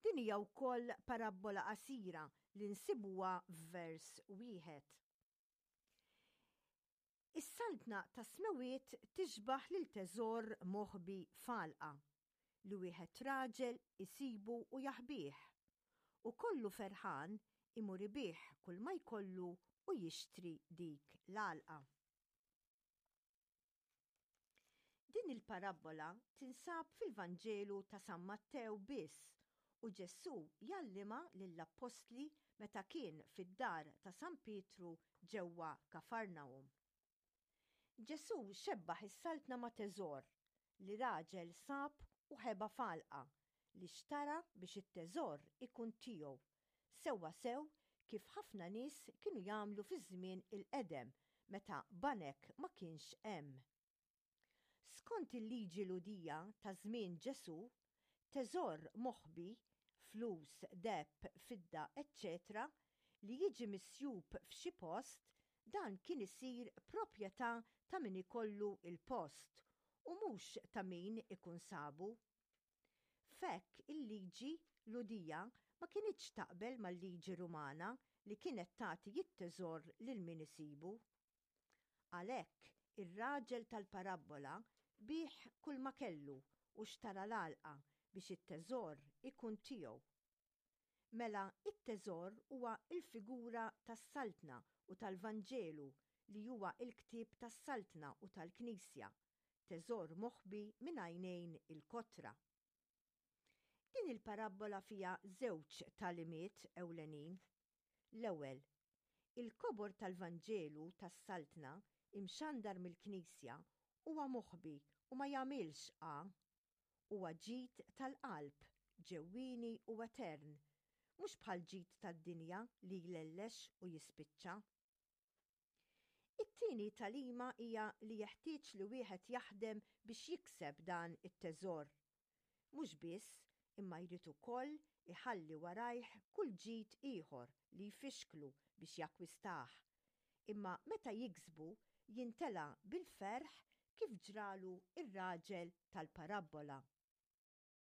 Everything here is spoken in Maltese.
Din hija wkoll parabbola qasira li nsibuha f'vers wieħed. Is-Saltna tas-Smewwiet tixbah lil teżor moħbi f'għalqa, li wieħed raġel isibu u jaħbih, u kollu ferħan imur ibigħ kulma jkollu u jixtri dik l-għalqa. Din il-parabbola tinsab fil-Vanġelu ta' San Mattew biss u Ġesù jgħallimha lill-appostli meta kien fid-dar ta' San Pietru ġewwa Kafarnahum. Ġesù xebbaħ is-Saltna ma' teżor li raġel sab u ħeba f'għalqa li xtara biex it-teżor ikun tiegħu, sewwasew kif ħafna nies kienu jagħmlu fiż-żmien il-qedem meta banek ma kienx hemm. Skont il-liġi Lhudija ta' żmien Ġesù, teżor moħbi, flus, deheb, fidda, eċċetera li jiġi misjub f'xi post, dan kien isir proprjetà ta' min ikollu l-post u mhux ta' min ikun sabu. F'hekk il-liġi Lhudija ma kinitx taqbel mal-liġi Rumana li kienet tagħti t-teżor lil min isibu. Għalhekk, ir-raġel tal-parabbola biegħ kulma kellu u xtara l-għalqa biex it-teżor ikun tiegħu. Mela t-teżor huwa l-figura tas-Saltna u tal-Vanġelu li huwa l-ktieb tas-Saltna u tal-Knisja, teżor moħbi minn għajnejn il-kotra. Din il-parabbola fiha żewġ tagħlimiet ewlenin. L-ewwel, il-kobor tal-Vanġelu tas-Saltna imxandar mill-Knisja huwa moħbi u ma jagħmilx għa. Huwa ġid tal-qalb, ġewwieni u etern, mhux bħall-ġid tad-dinja li jlellex u jispiċċa. It-tieni tagħlima hija li jeħtieġ li wieħed jaħdem biex jikseb dan it-teżor. Mhux biss, imma jrid ukoll iħalli warajh kull ġid ieħor li jfixklu biex jakkwistah. Imma meta jiksbu, jintela' bil-ferħ kif ġralu r-raġel tal-parabbola.